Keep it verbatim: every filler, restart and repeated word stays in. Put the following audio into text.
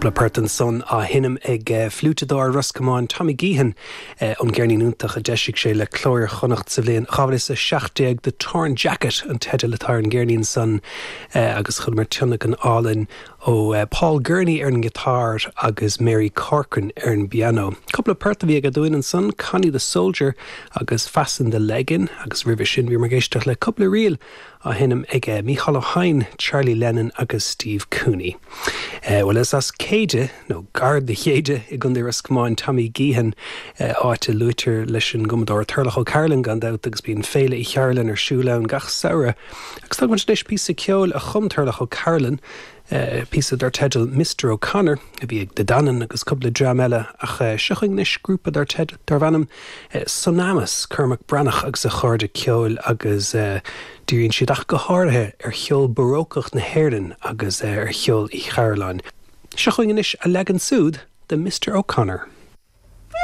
Cúpla port ansan á sheinm ag fliúiteadóir Ros Comáin Tommy Geehan ón gceirnín iontach a d'eisigh sé le Cló Iar-Chonnacht sa bhliain dhá mhíle is a seacht déag The Torn Jacket an teideal atá ar an gceirnín san agus chualamar tionlacan álainn ó Paul Gurney ar an ngiotár agus Mary Corcoran ar an bpianó. Cúpla port a bhí aige dúinn ansan Connie the Soldier agus Fasten the Leggin agus roimhe sin bhí muid ag éisteacht le cúpla ríl á sheinm ag Mícheál Ó hEidhin, Charlie Lennon agus Steve Cooney. Well is as Céide nó gar do Chéide i gContae Ros Comáin Tommy Geehan áit a luaitear leis an gcumadóir Turlough O'Carolan gan dabht agus bíonn Féile Uí Chearúil ar siúl ann gach samhradh. Agus tá anois píosa ceoil a chum Turlough O'Carolan, píosa dar teideal Mr O'Connor a bhí ag De Danann agus cúpla dream eile ach seo chugainn anois grúpa dar teideal darb ainm Sonamus Cormac Breathnach agus a chairde ceoil agus díríonn siad ach go háirithe ar cheol barócach na hÉireann agus ar cheol Uí Chearúláin. Seo chugainn anois a leagan siúd de Mr O'Connor.